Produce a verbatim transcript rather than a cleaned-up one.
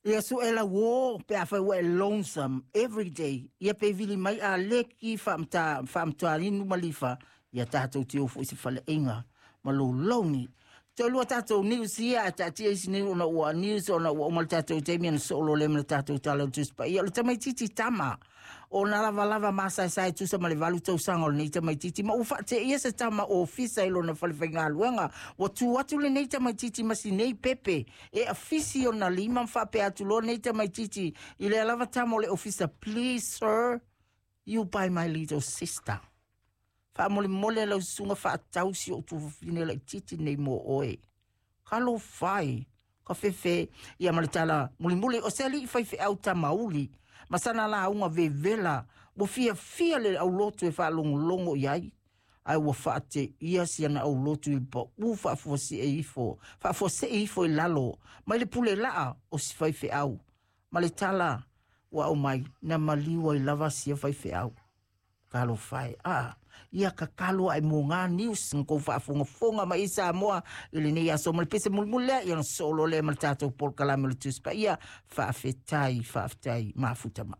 Ia suʻe lau uō pe afai ua e lonesome everyday, ia pe vili mai Aleki Faamataualinu ma Lifa, ia tatou te o foi i se faleaiga ma lou logi. Toe lua tatou news ia ae taatia isi news ona ua news ona ua uma le tatou taimi ona soo loa lea ma le tatou Tala o le Tusi Paia. O le tamaitiiti tama ona lavalava masaesae tusa ma le valu tausaga o lenei tamaitiiti ma ua faateia se tama ofisa i lona falefaigaluega. Ua tu atu lenei tamaitiiti ma sinei pepe e afisi ona lima ma faapea atu loa lenei tamaitiiti i lea lava tama o le ofisa, "Please sir, you buy my little sister. Faamolemole lau susuga faatau si ou tuafafine laitiiti nei mo oe." Talofa e, ka fefe ia ma le tala mulimuli o se alii faifeau tamauli ma sana lauga vevela ua fiafia le aulotu e faalogologo i ai, ae ua faateia siana aulotu i le paʻū faafuasee ifo faafuasee ifo i lalo mai le pule laa o si faifeau ma le tala ua aumai na maliu ai lava sia faifeau. Talofa e, a ia tatalo ae mo gā news na kou faafogafoga mai i Samoa i lenei aso ma le pese mulimuli lea ia ona sosoo loa lea ma le tatou polokalame o le Tusi Paia. Faafetai, faafetai, mafuta mai.